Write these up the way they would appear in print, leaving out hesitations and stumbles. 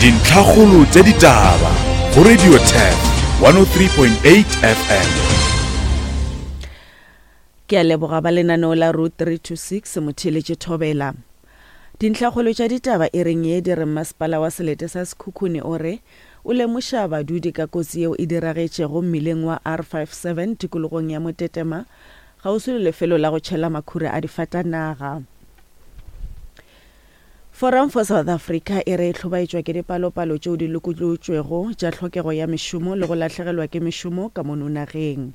Dintlhakgolo tša ditaba go Radio Turf 103.8 FM. Ke a leboga ba lenaneo la Route 326 Motheeletše Thobela. Dintlhakgolo tša ditaba e reng ye di re Mmasepala wa selete sa Sekhukhune o re o lemoša badudi ka kotsi yeo e diragetšego mmileng wa R57 tikologong ya Motetema kgauswi le lefelo la go tšhela makhura a difatanaga. Forum for South Africa e re e hlobaetšwa ke dipalopalo tšeo di lokolotšwego tša tlhokego ya mešomo le go lahlegelwa ke mešomo ka mono nageng.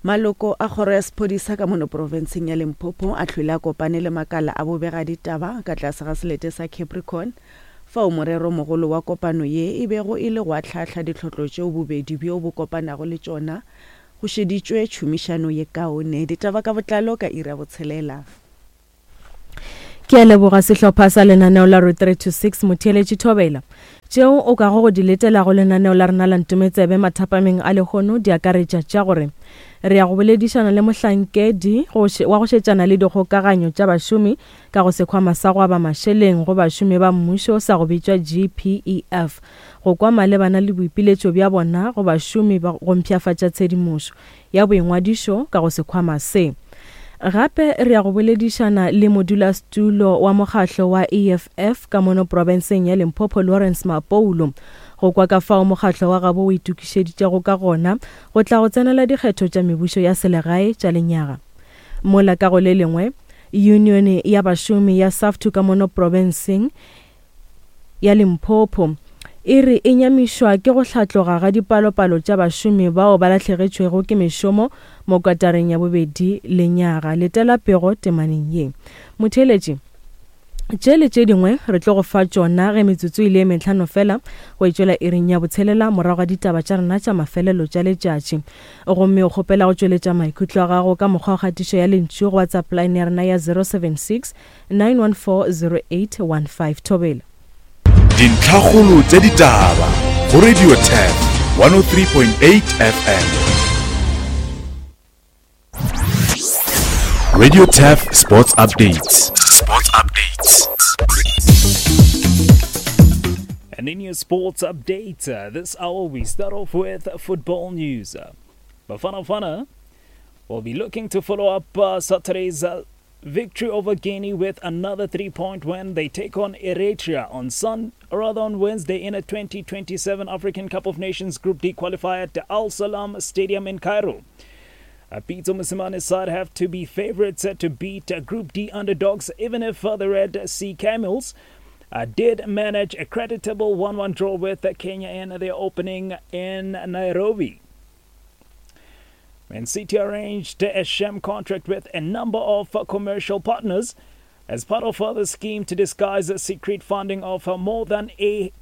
Maloko a kgoro ya sephodisa ka mono profenseng ya Limpopo a hlwele a kopane le makala a bobegaditaba ka tlase ga selete sa Capricorn fao morero mogolo wa kopano ye e bego e le go ahlaahla ditlhotlo tšeo bobedi bjo bo kopanago le tšona go šeditšwe tšhomišano ye kaone. Ditaba ka botlalo ka iri ya botshelela. Ke a leboga sehlopha sa lenaneo la Route 3 to 6 Motheeletši Thobela. Tšeo o kago go di letela go lenaneo la rena la Ntometsebe mathapameng a lehono di akaretša tša gore re ya go boledišana le mohlankedi wa go šetšana le dikgokaganyo tša bašomi ka go sekhwama sa go aba mašeleng go bašomi ba mmušo sa go bitšwa GPEF go kwa malebana le boipiletšo bja bona go bašomi go mpshafatša tshedimošo ya boingwadišo ka go sekhwama se. Gape re ya go boledišana le modulasetulo wa mokgahlo wa EFF ka mono profenseng ya Limpopo Lawrence Mapoulo go kwa ka fao mokgahlo wa gabo o itokišeditšego ka gona go tla go tsenela dikgetho tša mebušo ya selegae tša lenyaga. Mola ka go le lengwe, Yunione ya bašomi ya SAFTU ka mono profenseng ya Limpopo e re e nyamišwa ke go hlatloga ga dipalopalo tša bašomi bao ba lahlegetšwego ke mešomo mo kwatareng ya bobedi lenyaga. Letela pego temaneng ye. Motheeletši, tše le tše dingwe re tlo go fa tšona ge metsotso e le e mehlano fela go e tšwela iring ya botshelela morago ga ditaba tša rena tša mafelelo tša letšatši. Gomme o kgopela go tšweletša maikutlo a gago ka mokgwa wa kgatišo ya lentšu go WhatsApp line ya rena ya 076 9140815 Thobela. Dintlhakgolo tša ditaba go Radio Turf 103.8 FM. Radio Turf Sports Updates. Sports Updates. And in your sports update, uh, this hour we start off with football news. Bafana Bafana will be looking to follow up uh, Saturday's uh, victory over Guinea with another three-point win. They take on Eritrea on Sun, or rather on Wednesday in a 2027 African Cup of Nations Group D qualifier at the Al Salam Stadium in Cairo. Uh, Pitso Mosimane's side have to be favorites uh, to beat uh, Group D underdogs, even if uh, the Red Sea Camels uh, did manage a creditable 1 1 draw with uh, Kenya in their opening in Nairobi. Man City arranged a sham contract with a number of commercial partners as part of the scheme to disguise secret funding of more than a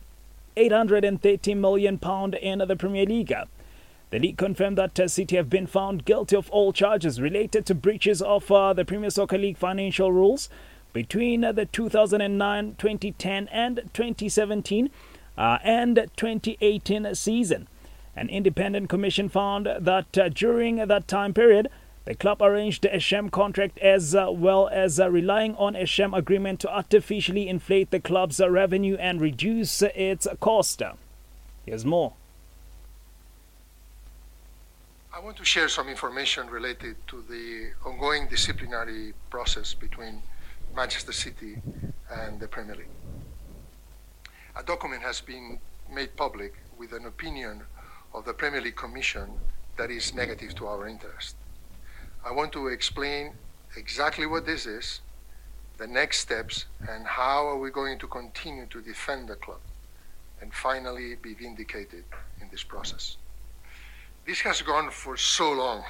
830 million pound in the Premier League. The league confirmed that City have been found guilty of all charges related to breaches of uh, the Premier Soccer League financial rules between the 2009, 2010 and 2017 uh, and 2018 season. An independent commission found that uh, during that time period, the club arranged a sham contract as uh, well as uh, relying on a sham agreement to artificially inflate the club's uh, revenue and reduce its cost. Here's more. I want to share some information related to the ongoing disciplinary process between Manchester City and the Premier League. A document has been made public with an opinion of the Premier League Commission that is negative to our interest. I want to explain exactly what this is, the next steps, and how are we going to continue to defend the club and finally be vindicated in this process. This has gone for so long.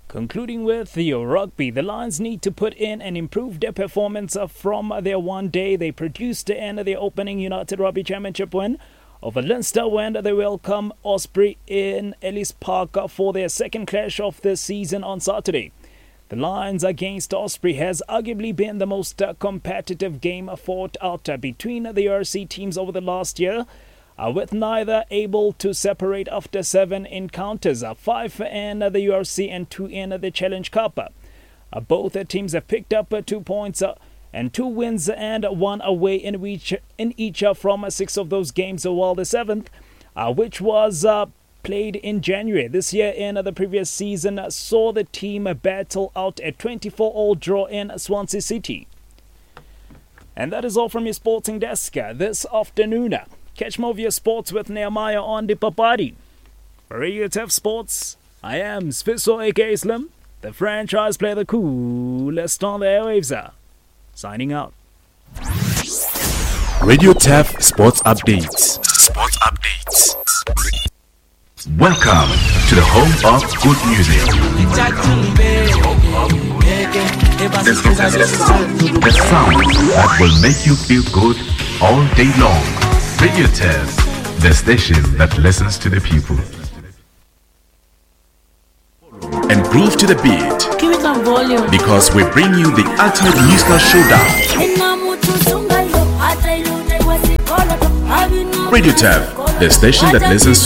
Concluding with the rugby, the Lions need to put in and improve their performance from their one day they produced in their opening United Rugby Championship win over Leinster when they welcome Osprey in Ellis Park for their second clash of the season on Saturday. The Lions against Osprey has arguably been the most competitive game fought out between the RC teams over the last year uh, with neither able to separate after seven encounters, uh, five in the URC and two in the Challenge Cup. Uh, both teams have picked up uh, two points uh, And 2 wins and 1 away in each, in each from 6 of those games, while the 7th, which was played in January this year in the previous season, saw the team battle out a 24-all draw in Swansea City. And that is all from your sporting desk this afternoon. Catch more of your sports with Nehemiah on the Papadi. For Radio Turf Sports, I am Sfiso aka Slim, the franchise player, the coolest on the airwaves. Signing out. Radio Turf Sports Updates. Sports Updates. Welcome to the home of good music. The sound that will make you feel good all day long. Radio Turf, the station that listens to the people. And groove to the beat. Give it some volume. Because we bring you the ultimate musical showdown. Radio Turf, the station that listens to